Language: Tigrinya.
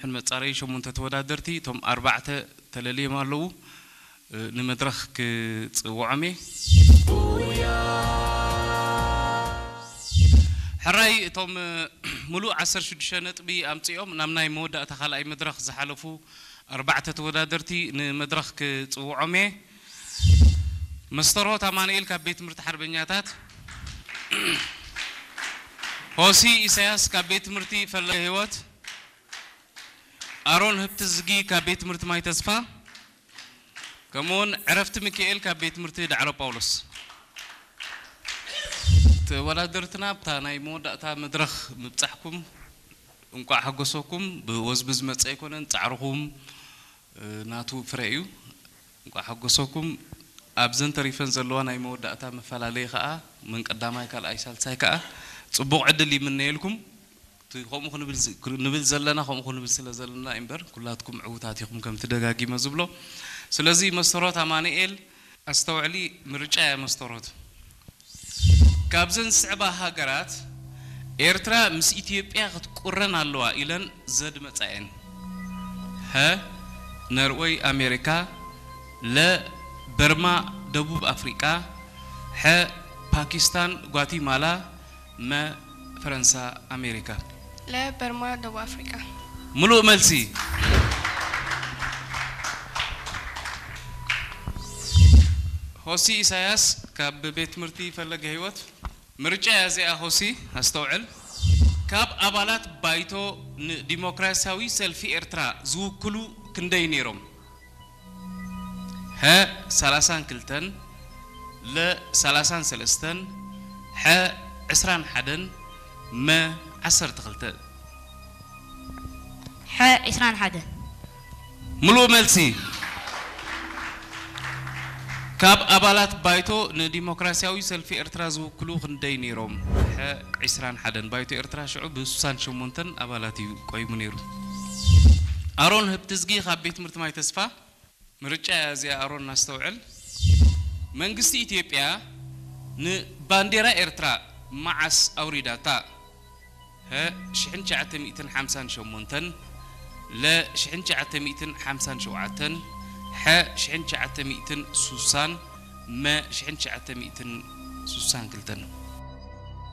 ሕን መጻረዪ ሸሞንተ ተወዳደርቲ፣ እቶም ኣርባዕተ ተለልዮም ኣለዉ። እ፣ ንመድረኽ ክጽውዖም እየ። ሕራይ፣ እቶም፣ እ፣ ምሉእ ዓሰርተ ሽዱሽተ ነጥቢ ኣምጺኦም ናብ ናይ መወዳእታ ካልኣይ መድረኽ ዝሓለፉ ኣርባዕተ ተወዳደርቲ ንመድረኽ ክጽውዖም እየ። መስተርሆት ኣማኑኤል ካብ ቤት ትምህርቲ ሓርበኛታት፣ ሆሲ ኢሳያስ ካብ ቤት ትምህርቲ ፈለገ ህይወት፣ ኣሮን ህብትዝጊ ካብ ቤት ትምህርቲ ማይ ተስፋ፣ ከምኡውን ዕረፍቲ ሚካኤል ካብ ቤት ትምህርቲ ዳዕሮ ጳውሎስ። ተወዳደርትና ኣብታ ናይ መወዳእታ መድረኽ ምብጻሕኩም እንቋዕ ሓጎሰኩም። ብወዝቢ ዝመጸ ኣይኮነን፣ ጻዕርኹም፣ እ፣ ናቱ ፍረ እዩ። እንቋዕ ሓጎሰኩም። ኣብዘን ተሪፈን ዘለዋ ናይ መወዳእታ መፈላለዪ ከኣ፣ መን ቀዳማይ፣ ካልኣይ፣ ሳልሳይ ከኣ ጽቡቕ ዕድል ይምነየልኩም። እቲ ከምኡ ክንብል ዝ-፣ ንብል ዘለና፣ ከምኡ ክንብል ስለ ዘለና እዩ እምበር፣ ኩላትኩም ዕዉታት ኢኹም፣ ከምቲ ደጋጊመ ዝብሎ። ስለዚ መስተርሆት ኣማኑኤል፣ ኣስተውዕሊ፣ ምርጫ እያ መስተርሆት። ካብዘን ዝስዕባ ሃገራት፣ ኤርትራ ምስ ኢትዮጵያ ክትቁረን ኣለዋ ኢለን ዘድመጻ እየን። ሀ፣ ነርወይ ኣሜሪካ፣ ለ፣ በርማ ደቡብ ኣፍሪቃ፣ ሐ፣ ፓኪስታን ጓቲማላ፣ መ፣ ፈረንሳ ኣሜሪካ። ለ፣ በርማ ደቡብ ኣፍሪቃ። ምሉእ መልሲ። ሆሲ ኢሳያስ ካብ ቤት ትምህርቲ ፈለገ ህይወት። ምርጫ እያ እዚኣ ሆሲ፣ ኣስተውዕል። ካብ ኣባላት ባይቶ ንዲሞክራሲያዊ ሰልፊ ኤርትራ ዝውክሉ ክንደይ ነይሮም? ሀ፣ ሰላሳን ክልተን፣ ለ፣ ሰላሳን ሰለስተን፣ ሐ፣ ዕስራን ሓደን፣ መ፣ ዓሰርተ ክልተ። ሐ፣ ዕስራን ሓደን። ምሉእ መልሲ። ካብ ኣባላት ባይቶ ንዲሞክራሲያዊ ሰልፊ ኤርትራ ዝውክሉ ክንደይ ነይሮም? ሐ፣ ዕስራን ሓደን። ባይቶ ኤርትራ ሽዑ ብስሳን ሸሞንተን ኣባላት እዩ ቆይሙ ነይሩ። ኣሮን ህብትዝጊ ካብ ቤት ትምህርቲ ማይ ተስፋ። ምርጫ እያ እዚኣ፣ ኣሮን እናስተውዕል። መንግስቲ ኢትዮጵያ ንባንዴራ ኤርትራ መዓስ ኣውሪዳታ? ሀ፣ ሽሕን ትሽዓተ ሚእትን ሓምሳን ሸሞንተን፣ ለ፣ ሽሕን ትሽዓተ ሚእትን ሓምሳን ሸውዓተን፣ ሐ፣ ሽሕን ትሽዓተ ሚእትን ሱሳን፣ መ፣ ሽሕን ትሽዓተ ሚእትን ሱሳን ክልተን።